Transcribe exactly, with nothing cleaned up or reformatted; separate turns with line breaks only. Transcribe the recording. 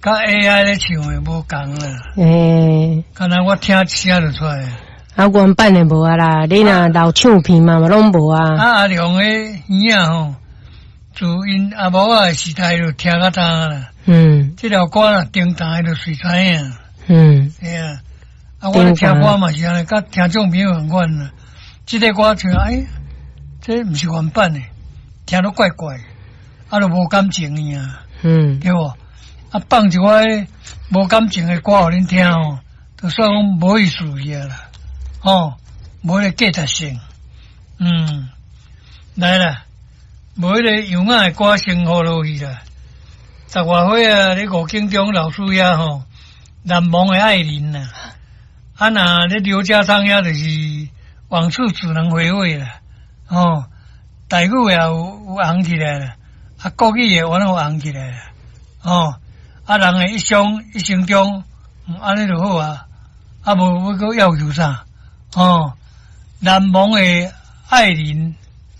佮 A I 咧唱的無仝啦。
欸，
敢若我聽一聲就出來。
啊，原版的無啊啦，你若留唱片嘛嘛攏無啊。
啊，阿良的耳仔吼，自𪜶阿母仔的時代就聽甲今啦。
嗯。
這條歌若叮當就隨知影。
嗯。
對啊，啊，我咧聽歌嘛是按呢，佮聽眾朋友仝款啦。這个歌唱，哎，這毋是原版的，聽著怪怪，啊，就無感情爾啊。
嗯。
對無？啊，放一寡無感情的歌予恁聽吼，就算講無意思去啊啦，吼，無彼个價值性。嗯，來啦，無彼个樣仔的歌先予落去啦。十外歲啊，咧五更中老師遐吼，難忘的愛人啊，啊若咧劉家昌遐就是往事只能回味啦，吼，台語也有有紅起來啦，啊國語也原來有紅起來啦，吼，啊人的一生一生中，按呢就好啊，啊無欲閣要求啥，吼，難忘的愛人。